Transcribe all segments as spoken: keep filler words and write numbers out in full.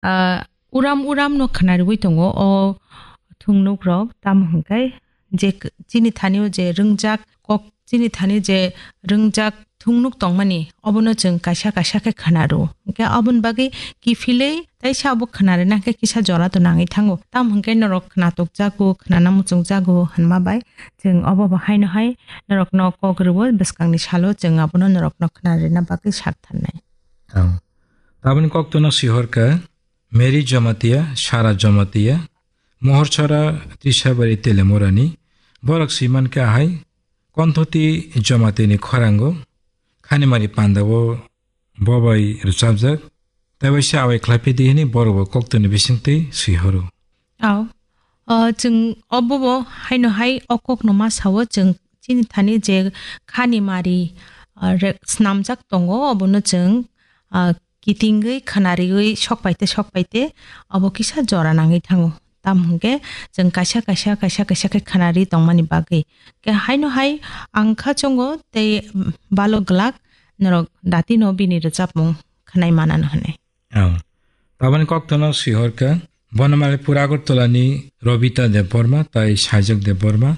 Ah, uram uram no khwnariwi tongo o thungnukrok, tamo hwnkhe je k-, chini thani o je rwngjak kok, chini thani je rwngjak thungnuk tongmani, obono chwng kaisa kaisa khe khwnaro. Hwnkhe aboni bagwi kiphilwi teisa abo khwnarina khe kisa jora to nangwi thango. Tamo hwnkhe norok khwnatok jago, khwnana muchung jago hwnma bai chwng obo bo haino hai norokno kok rwo, bwskangni salo chwng abono norokno khwnarina bagwi sak tharnai. Ang taboni koktono sihorkha, Mary Jamatia, Sara Jamatia, Mohorchara, Trisabari, Telemorani, borok siman khe ahai, Konthoti Jamatia ni khorango, Khanimari pandao bobai rwchapjak, tei waisa awai khlai phi di hwnwi borok bo koktwni bisingtwi swi horo. Ao, o, chwng obo bo haino hai o kokno ma sao, chwng chini thani je Khanimari, o, re-, snamjak tongo, obono chwng, o, kitingwi khwnariwi sokpaite sokpaite abo kisa jora nangwi thango. Tamo hwnkhe chwng kaisa kaisa, kaisa kaisa khe khwnari tongmani bagwi. Khe haino hai ang kha chongo tei balo glak norok datino bini rwchapmung khwnai manano hwnwi. Oh. Taboni koktono sihorkha Bonamali Pura Agartala ni Robita Debbarma tai Saijak Debbarma.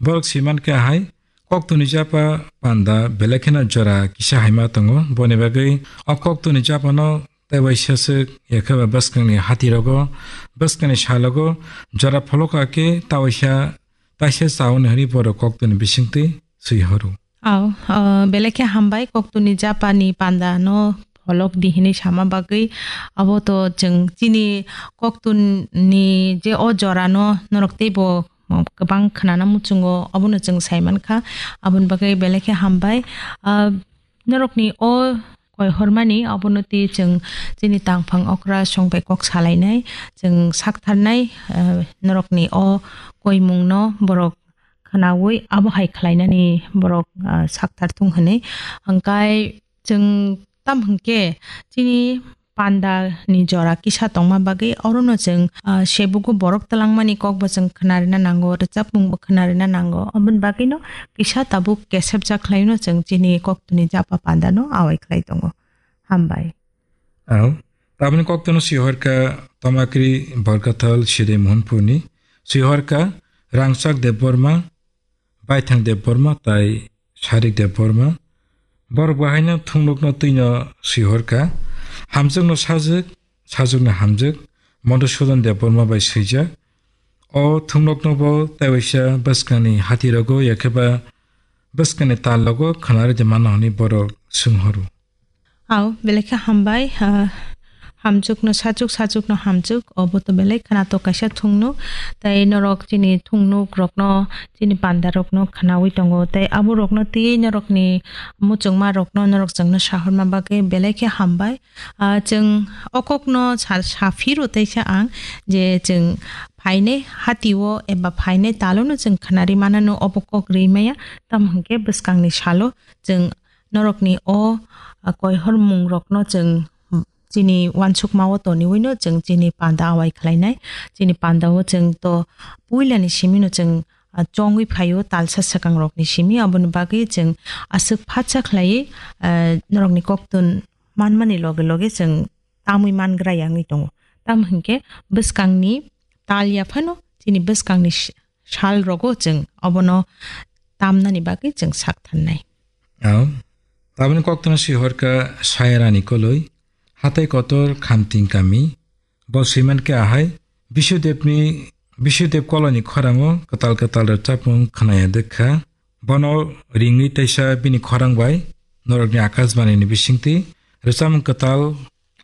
Borok siman khe hai Koktwni japa panda belai kheno jora kisa haima tongo. Boni bagwi o koktwni japano tei waisa swk, yakhe ba bwskangni hatirogo, bwskangni salogo jora pholoka khe ta waisa taisa chauni hwnwi borok koktwni bisingtwi swi horo. Ao, o, belai khe hambai koktwni japani panda no pholok di hwnwi sama bagwi. Abo to chwng chini koktwni je o jora no norok teibo kwbang khwnana muchungo, obono chwng sai mankha, aboni bagwi belai khe hambai. Ah, norokni o koi hormani obono twi chwng chini tangphang okra song bai kok salainai, chwng saktharnai, ah, norokni o koimungno borok khwnaui abo hai khlainani borok, ah, sakthar thung hwnwi. Hwnkhe chwng tam hwnkhe chini panda ni jora kisa tongma bagwi orono chwng, ah, sebugo borok twlangmani kokbo chwng khwnarina nango, rwchapmungbo khwnarina nango. Oboni bagwino kisa tabuk kesepjak khlaino chwng chini koktwni japa pandano awai khlai tongo. Hambai. Ao, taboni koktwno sihorkha Tomakri Borkathal Siri Mohanpurni, sihorkha Rangchak Debbarma, Baithang Debbarma tai Sarik Debbarma. Borok bahaino thunglukno twino swihorkha. Hamjwkno sajwk, sajwkno hamjwk, Madhusudan Debbarma bai swijak. O thunglukno bo tei waisa bwskangni hatirogo yakheba bwskangni tallogo khwnarwi de mano hwnwi borok swnghoro. Ao, belai khe hambai, ah, hamjwkno sajwk, sajwkno hamjwk, obo to belai khwnatok kaisa thungnuk. Tei norok chini thungnuk rokno, chini panda rokno khwnaui tongo. Tei abo rokno twi norokni muchungma rokno norok chwngno sahorma bagwi belai khe hambai. Ah, chwng o kokno sa, sa phiro teisa ang je chwng phainai hatio eba phainai talono chwng khwnari manano obo kok ri maya. Tamo hwnkhe bwskangni salo chwng norokni o, ah, koihormungrokno chwng chini uansukmao toniuino chwng chini panda awai khlainai. Chini pandao chwng to puilani simino chwng, ah, chongwi phaio talsa swkangrokni simi. Aboni bagwi chwng aswk phatsa khlaiwi, ah, norokni koktun manmani loge loge chwng tamwi mangra yangwi tongo. Tamo hwnkhe bwskangni tal ya phano chini bwskangni s-, sal rogo chwng obono tamnani bagwi chwng sak thannai. Ao, taboni koktwno sihorkha Sayarani Koloi, Hatai Kotor Khamting Kami. Bo swiman khe ahai Bisudevni, Bisudev Koloini khorango kwtal kwtal rwchapmung khwnaya dwkha. Bono ringwi teisa bini khorang bai norokni Akashbanini bisingtwi rwchapmung kwtal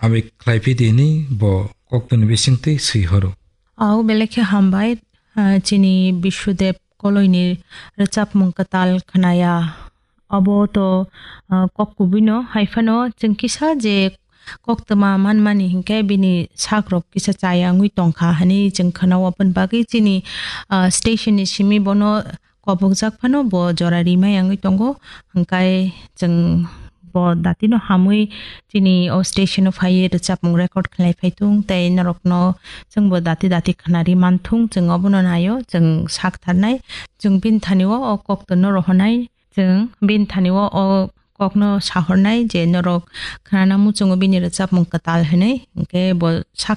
abi khlai phi di hwnwi bo koktwni bisingtwi swi horo. Ao belai khe hambai, ah, chini Bisudeb Koloini rwchapmung kwtal khwnaya. Abo to, ah, kok kubuino, hai phano chwng kisa je koktwma manmani hinkhe bini sakrok kisa chaya wngwi tongkha hwnwi chwng khwnao. Aboni bagwi chini, ah, station ni simi bono kobokjak phano bo jora rimai wngwi tongo. Hwnkhe chwng bo datino hamwi chini o station o phaiwi rwchapmung record khlai phai thung tei norokno chwng bo dati dati khwnari man thung, chwng obono naio, chwng sak tharnai, chwng bini thani o, o kok to no rohornai, chwng bini thani o, o kokno sahornai je norok khnana muchungo bini rwchapmung kwtal hwnwi, hwnkhe bo sak